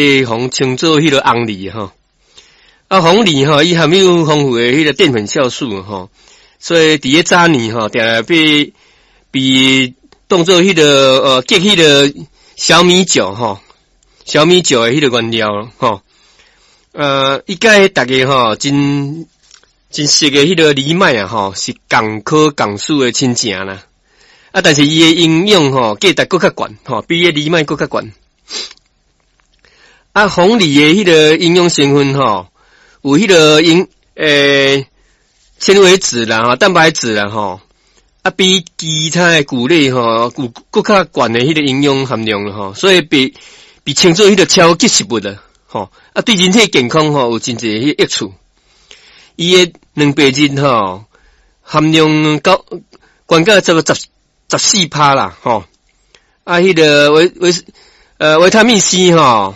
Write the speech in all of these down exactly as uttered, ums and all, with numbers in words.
予稱做彼個紅藜吼。啊，黃梨吼，伊含有豐富的彼個澱粉酵素吼，所以佇咧早年吼，定定被被當做彼個呃結彼個小米酒吼，小米酒的彼個原料吼。呃，伊佮逐家吼真真熟的彼個藜麥啊吼，是仝科仝屬的親情啦。啊，但是伊的營養吼價值閣較懸吼，比彼藜麥閣較懸。啊，黃梨的彼個營養成分吼，有彼個營欸纖維質啦、吼蛋白質啦吼，啊比其他的穀類吼有閣較懸的彼個營養含量吼，所以被被稱做彼個超級食物啦，吼啊對人體健康吼有真濟彼個益處。伊的蛋白質吼含量高，懸到差不多十十四趴啦，吼啊彼個維維呃維他命 C 吼。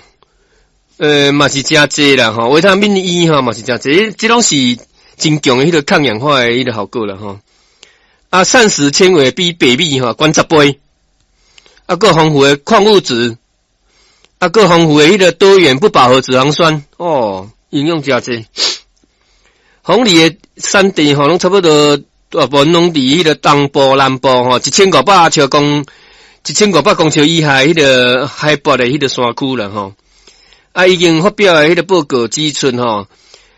呃，嘛是誠濟啦，吼，維他命 E 吼嘛是誠濟，這攏是真強的彼個抗氧化的彼個效果啦，吼。啊，膳食纖維比白米吼懸十倍，啊，閣豐富的礦物質，啊，閣豐富的彼個多元不飽和脂肪酸，哦，營養誠濟。黃梨的產地吼，攏差不多大部分攏佇彼個東部、南部吼，一千五百尺公，一千五百公尺以下彼個海拔的彼個山區啦，吼。啊，已經發表的彼個報告指出吼，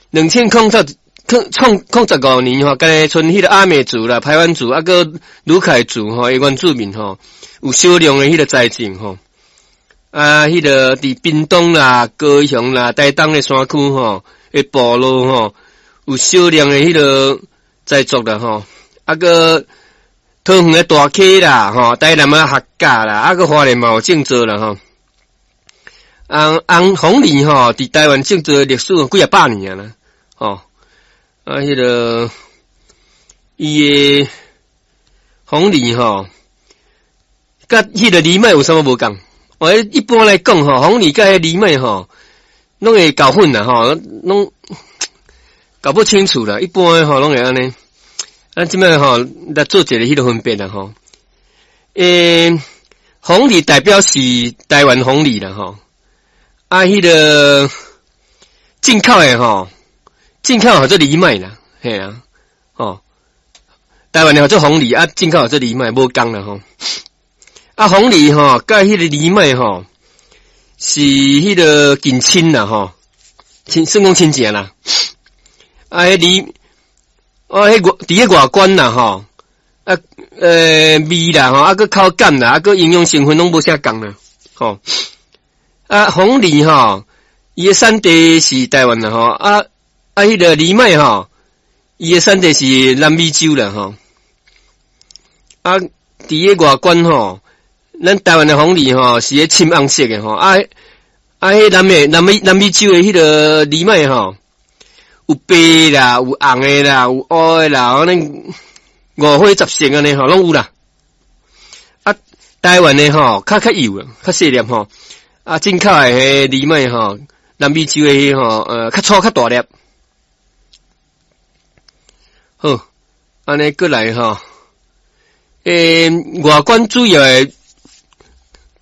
兩千空十空創空十五年吼，敢若賰彼個阿美族啦、排灣族啊，閣魯凱族吼，原住民吼，有少量的彼個栽種吼。啊，彼個佇屏東啦、高雄啦、台東的山區吼，的部落吼，有少量的彼個栽種啦吼。啊，閣桃園的大溪啦，吼，台南的客家啦，啊，閣花蓮嘛有種植啦吼。紅紅黃梨吼，佇台灣種植的歷史幾仔百年啊啦，吼啊，彼個伊的黃梨吼，佮彼個藜麥有啥物無仝？我一般來講吼，黃梨佮彼藜麥吼，攏會搞混啦吼，攏搞不清楚啦。一般吼攏會按呢。咱這擺吼來做一个彼個分別啦吼。欸，黃梨代表是台灣黃梨啦吼。啊，彼個進口的吼，進口叫做藜麥啦，嘿啊，吼，台灣的叫做黃梨啊，進口叫做藜麥，無仝啦吼。啊，黃梨吼，佮彼個藜麥吼，是彼個近親啦吼，親算講親情啦。啊，彼梨，啊，彼外佇彼外觀啦吼，啊，呃，味啦吼，啊，閣口感啦，啊，閣營養成分攏無啥仝啦，吼。啊，黃梨吼，伊的產地是台灣啦吼，啊啊，彼個藜麥吼，伊的產地是南美洲啦吼。啊，佇个外觀吼，咱台灣的黃梨吼是彼深紅色的吼，啊啊，彼南美南美南美洲的彼個藜麥吼，有白啦，有紅的啦，有烏的啦，反正五花十色按呢吼，攏有啦。啊，台灣的吼較較幼，較細粒吼。啊，進口的彼藜麥吼，南美洲的彼吼，呃，較粗較大粒。好，按呢閣來吼，欸，外觀主要的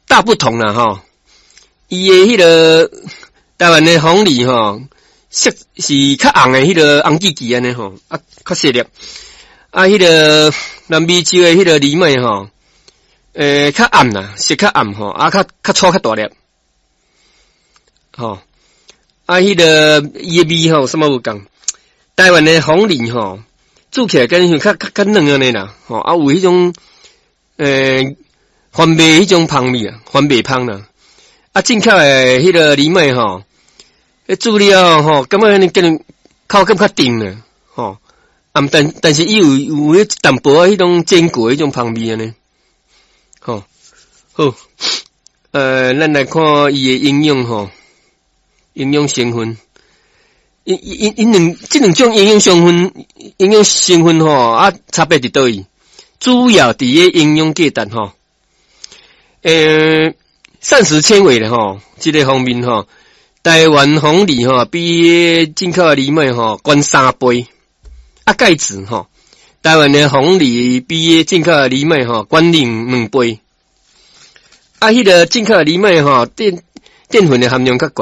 大不同啦吼。伊的彼個台灣的黃梨吼，色是較紅的彼個紅吱吱按呢吼，啊，較細粒。啊，彼個南美洲的彼個藜麥吼，欸，較暗啦，色較暗吼，啊，較較粗較大粒。吼，啊，彼個伊的味吼，啥物無仝？台灣的黃梨吼，煮起來敢若像較較較軟按呢啦，吼，啊有彼種欸番麥彼種芳味啊，番麥芳啦。啊，進口的彼個藜麥吼，彼煮了吼，感覺按呢叫人口感較甜啦，吼。啊，但但是伊有有彼淡薄仔彼種堅果彼種芳味按呢，吼。好，呃，咱來看伊的營養吼。營養成分，𪜶𪜶𪜶兩這兩種營養成分，營養成分吼啊，差別佇佗位？主要佇个營養價值吼，欸，膳食纖維咧吼，這個方面吼，台灣黃梨吼比進口的藜麥吼懸三倍，啊，鈣質吼，台灣的黃梨比進口的藜麥吼懸兩兩倍，啊，彼個進口的藜麥吼，電。澱粉的含量較懸。